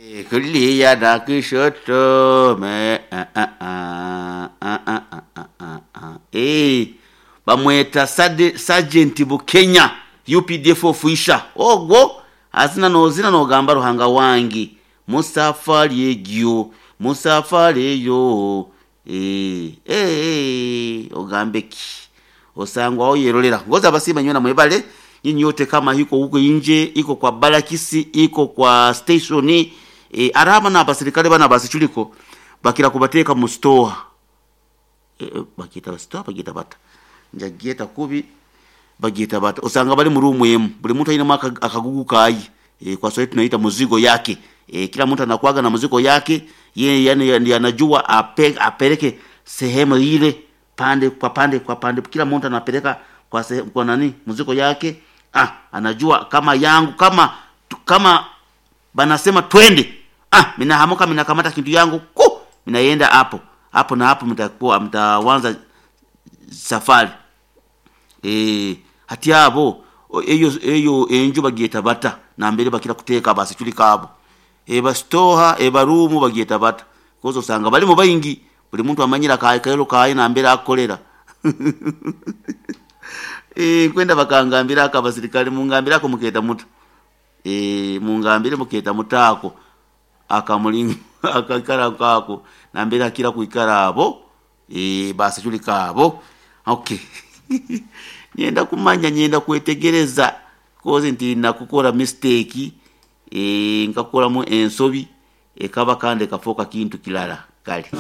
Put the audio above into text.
Kulia na kushoto me ah, ah, ah, ah, ah, ah, ah, ah, ah. Eh, bamweta Sergeant Bukenya UPDF official ogwo azina nozina nogamba Ruhanga wangi musafari egyo musafari eyo eh, eh, ogambe ki osangwa oyerolera ngoza abasima nyona mwebale nyinyi yote kama iko huko inje iko kwa barakisi iko kwa station e, araba na abasirikale bana basichuliko bakira kubateka mu store e, e, bakita store bagita bata njagieta kubi bagita bata osanga bali mu room emu buli muntu aina akagugu kai e, kwa Swahili tunaita muzigo yake e, kila mtu anakuaga na muzigo yake ye, yani ndiye anajua ape, apeleke sehemu ile pande kwa pande kwa pande, kila mtu anapeleka kwa se, kwa nani muziko yake. Ah, anajua kama yangu kama kama banasema twende, ah, minahamuka minakamata kintu yangu ku minaenda hapo hapo na hapo, mtakuwa mtaanza safari eh hati abo eyo eyo enju bagieta bata na mbere bakira kuteka basi chuli kabo e bastoha e barumu bagieta bata kozo sanga bali mu bayingi buli muntu amanyira kaye kayo kaye na mbere akolera e kwenda bakangambira aka basirikale mungambira ko muketa muta e mungambire muketa mutako akamulinga akakara kako na mbere akira kuikara abo e basi chuli kabo okay nyenda kumanya nyenda kwetegereza koze nti nakukora mistake e nkakolamu ensobi ekaba kandi kafoka kintu kilala kale.